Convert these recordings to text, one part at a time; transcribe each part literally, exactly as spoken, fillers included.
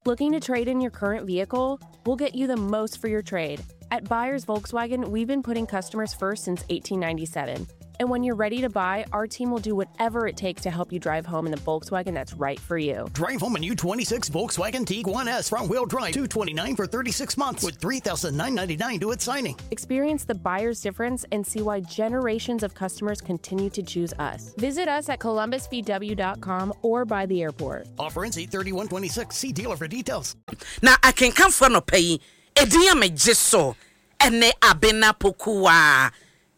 Looking to trade in your current vehicle? We'll get you the most for your trade. At Buyers Volkswagen, we've been putting customers first since eighteen ninety-seven. And when you're ready to buy, our team will do whatever it takes to help you drive home in the Volkswagen that's right for you. Drive home a new twenty-six Volkswagen Tiguan S front wheel drive, two twenty-nine for thirty-six months with three thousand nine hundred ninety-nine due at signing. Experience the buyer's difference and see why generations of customers continue to choose us. Visit us at columbus V W dot com or by the airport. Offer ends eight thirty-one twenty-six. See dealer for details. Na akenkanfoɔ, nɔpɛ yi ɛdin a megye so ɛne Abena Pokuwa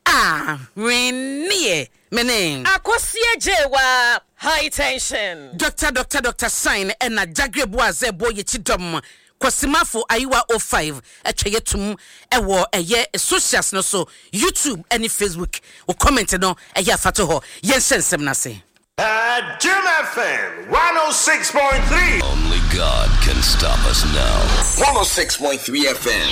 a hwenneɛ mene Akosie Gyewa High Tension. Doctor Doctor Doctor Sign ɛna Jagre Boazɛ bɔ yɛkyi dɔm Kwasimafo Ayiwa oh five atwa yɛtum ɛwɔ ɛyɛ socials no so, YouTube ɛne Facebook. Wo comment no ɛyɛ afato hɔ. Yɛnhyɛ nsɛm no ase. At Jim F M one oh six point three. Only God can stop us now. one oh six point three F M.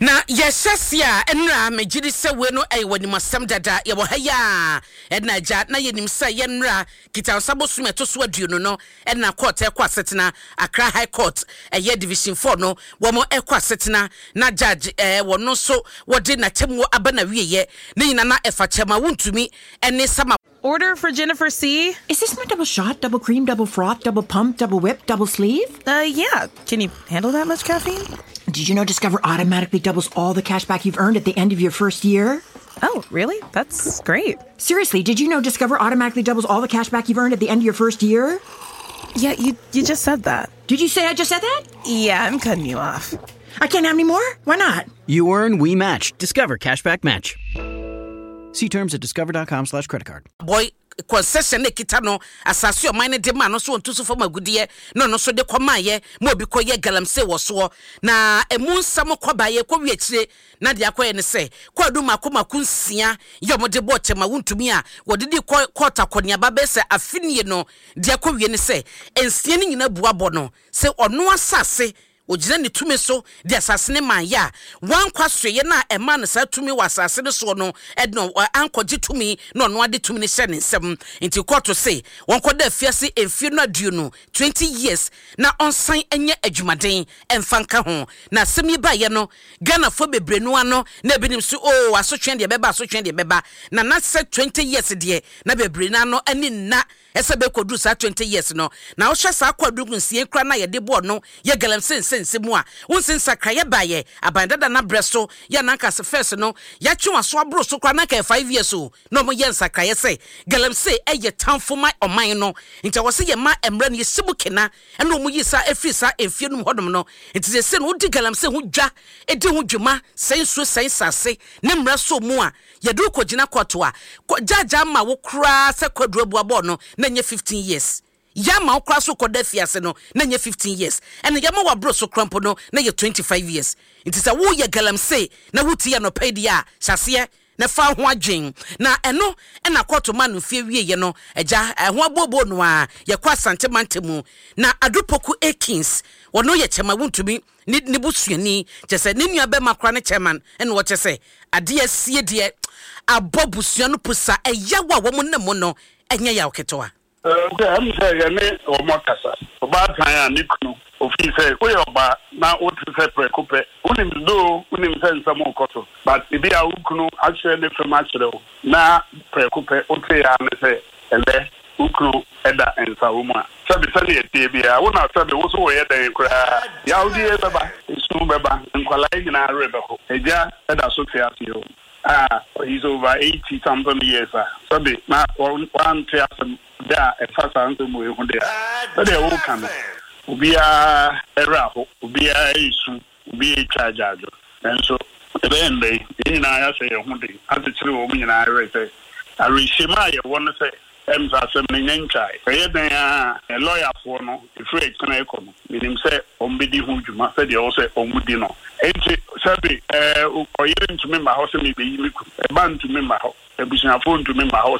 Na yɛhyɛ se a ɛnora megye di sɛ wei no ɛyɛ w'animasɛm dada. Yɛwɔ ha yi a ɛna agya na yɛnim sɛ yɛnnora Kitansa bosom ɛto so aduonu no ɛna court ɛkɔ asetena, Accra High Court ɛyɛ Division four no, wɔn ɛkɔ asetena na judge ɛɛ wɔn nso wɔde n'atemmuo aba na wieyɛ ne nyinaa na ɛfa Chairman Wontumi ɛne Sama Order for Jennifer C. Is this my double shot, double cream, double froth, double pump, double whip, double sleeve? Uh, yeah. Can you handle that much caffeine? Did you know Discover automatically doubles all the cash back you've earned at the end of your first year? Oh, really? That's great. Seriously, did you know Discover automatically doubles all the cash back you've earned at the end of your first year? Yeah, you you just said that. Did you say I just said that? Yeah, I'm cutting you off. I can't have any more? Why not? You earn, we match. Discover Cashback Match. See terms at discover dot com slash credit card. Boy concession ne kita no asase ɔman no de ma no so wɔntu so fam agudeɛ na ɔno nso de kɔmaayɛ ma obi kɔyɛ galamsey wɔ soɔ. Na emu nsɛm kɔbaeɛ kɔwie akyire na deɛ akɔyɛ ne sɛ kɔɔdu mako mako nsia yɛ ɔmo de bɔɔ Chairman Wontumi a wɔde di kɔ court akɔneaba bɛyɛ sɛ afinie no. Deɛ akɔwie ne sɛ nsia no nyinaa bu abɔ no sɛ ɔno asase ogyina ne tumi so de asase ne maa yɛ a wankɔ asoeɛ no a ɛma no saa tumi wɔ asase no soɔ no, ɛno ankɔgye tumi na ɔno ade tumi no hyɛ ne nsam. Nti kɔɔto se wɔnkɔda afiase mfie no aduonu, twenty years, na ɔnsan nyɛ adwumaden ɛmfa nka ho. Na asɛm yi baeɛ no, Ghanafoɔ bebree no ano na ebinom so o asotwe deɛ bɛba, asotwe deɛ bɛba na na sɛ twenty years deɛ na bebree no ano ani nna ɛsɛ bɛkɔduru saa twenty years no. Na wohwɛ saa kɔadu nsie kora na yɛde bɔɔ no yɛ galamsey nsɛnsɛm mu a wonse nsakraeɛ baeɛ aban dada no abrɛ so yɛ nanka sɛ first no yɛatwe waso aboro so koraa nanka yɛ five years o, na ɔmo yɛ nsakraeɛ sɛ galamsey ɛyɛ tamfo ma ɔman no, nti ɛwɔ sɛ yɛma mmerɛ no yɛsi mu kena ɛna ɔmo yi saa ɛfiri saa mfie no mu hɔnom no. Nti sɛ sɛ no wodi galamsey ho dwa, ɛdi ho dwuma sɛn nsuo sɛn sase ne mmerɛ so mu a yɛde wo kɔgyina kɔto a gyaagyaa ma wo koraa sɛ kwaduro abuabɔɔ no na nyɛ fifteen years, yɛama wo koraa so kɔda fiase no na nyɛ fifteen years, ɛna yɛma waboro so kora mpo no na yɛ twenty-five years. Nti sɛ woyɛ galamsey na wotie anɔpa yi deɛ a, hyɛaseɛ na fa ho adwen. Na ɛno ɛna kɔɔto ma no mfie wieɛ no agya ɛho abooboo no a yɛkɔ Asante manta mu na Adupoku Akins, wɔno yɛ Chairman Wontumi ne ne busuani, kyɛ sɛ ne nua bɛma kora ne chairman, ɛna wɔkyɛ sɛ adeɛ sie deɛ abɔ busua no pusa ɛyaw a wɔn nam mu no ɛnyɛ yaw ketewa. Sɛ ɛm sɛ yɛne wɔn akasa, ɔbaatan a ne kunu ofii sɛ woyɛ ɔbaa na wote sɛ prɛko pɛ wonim doo, wonim sɛ nsɛm wokɔ so, but ebi a wo kunu akyerɛ ne fam akyerɛ wo na prɛko pɛ wote ya ne sɛ ɛnɛ wo kunu ɛda nsawo mu a, sɛbi sɛne ɛtie biara wo na sɛbi wo so wɔyɛ dɛn koraa, yawdeɛ bɛba, esu bɛba, nkwalaa yi nyinaa werɛ bɛho. Agya ɛda so te ase o a he's over eighty something years a sɛbi na wante asɛm da a ɛfa saa nsɛm wɔ ehu de a sɛdeɛ woka no, obiara ɛwerɛ aho, obiara esu, obiara etwa agyaadwo. Nanso ɛbɛyɛ ndɛ yi yɛn nyinaa yɛahyɛ yɛn ho den akyekyere wɔn nyinaa werɛ sɛ awerɛhyɛmu a yɛwɔ no sɛ ɛm sɛ asɛm no nyɛ ntwae. Ɛyɛ dɛn a lɔyafoɔ no ɛfiri ɛkyena ɛkɔ no, menim sɛ ɔmbɛdi ho dwuma sɛdeɛ ɛwɔ sɛ ɔmo di no. Enti sɛbi ɛɛ ɔyere ntumi mma hɔ sɛ mebɛyi me kunu, ɛba ntumi mma hɔ, abusuafoɔ ntumi mma hɔ.